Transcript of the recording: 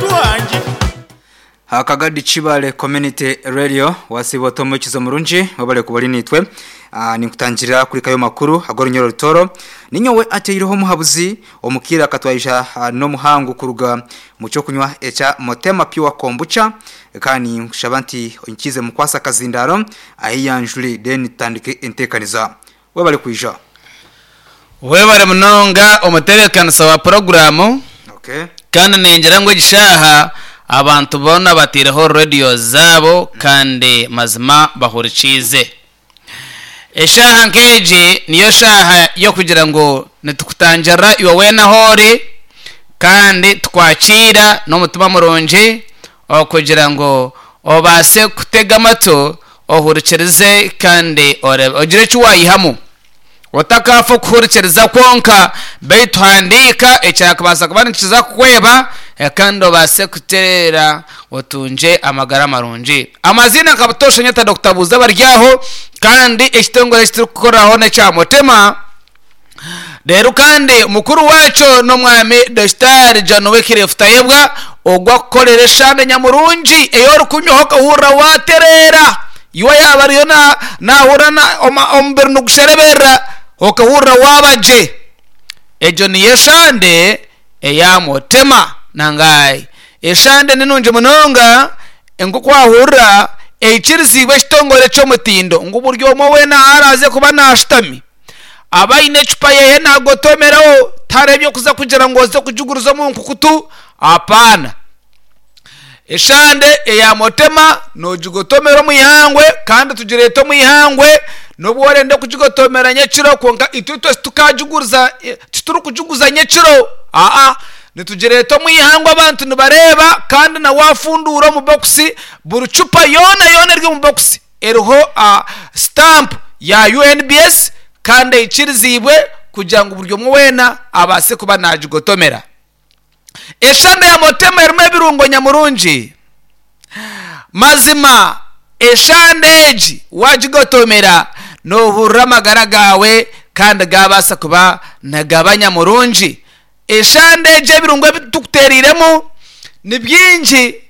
Yatuhangire. Akagadi Kibale Community Radio wasiiba ota omwekizo murungi webale kuba ori naitwe. Ninkutangirira kuri kayo makuru ag'orunyoro rutoro. Ninyowe ateireho omuhabuzi omukiire akatwaija n'omuhangu kuruga mu ky'okunywa ekya Motema Pure Kombucha kandi ninkushaba nti onyikiize mukwase akazindaaro ahiyanjure then tutandike enteekaniza. Webale kwija. Webare munonga omutebeekanisa wa puroguraamu. Okay. Kandi ningira ngu egi shaaha abantu boona bataireho radiyo zaabo kandi mazima bahurikiize. Eshaaha nk'egi niyo shaaha y'okugira ngu nitukutangirira iwe weena ahu ori kandi tukwakiira n'omutima murungi okugira ngu obaase kutega amatu ohurikirize kandi oreebe ogire eki waayihamu. Otakaafa okuhurikiriza kwonka, beitu handiika ekyakubaasa kuba nikiza kukweba kandi obaase kutereera otungye amagara marungi. Amaziina nka butoosha nyeta Dokita Buuza Baryaho kandi ekitongore eki turikukoreraho n'ekya Mutema. Reero kandi mukuru waakyo n'omwami Dokitaari John Wycliffe Tayebwa ogwo akukorera eshande nyamurungi ei orikunywaho okahurira waatereera. Iwe yaaba ariyo naahurira omubiri nigushereberera okahurira waaba gye. Egyo niyo eshande eya Mutema nangai. Eshande ni nungi munonga nk'oku wahurira eikiriziibwe ekitongore ky'omutindo ngu buri omwe weena ahu araaze kuba naashutami abe aine ecupa yeeye naagotomeraho tihariho eby'okuza kugira ngu oze kugiguriza omu nkukutu apaana. Eshande eya Motema noogigotomera omu ihangwe kandi tugireeta omu ihangwe n'obu orenda kugigotomera nyekiro kwonka itwe itwe titukagiguriza titurikugiguza nyekiro aa nitugireeta omu ihangwe abantu nibareeba kandi na waafunduura omu bokisi buri cupa yoona yoona eri omu bokisi eriho sitampu ya UNBS kandi eikiriziibwe kugira ngu buri omwe weena abaase kuba naagigotomera. Eshande ya Motema erimu ebirungo nyamurungi. Mazima eshande egi waagigotomera noohurira amagara gaawe kandi gaabaasa kuba nigaba nyamurungi. Eshande egi ebirungo ebi tukuteereiremu ni bingi.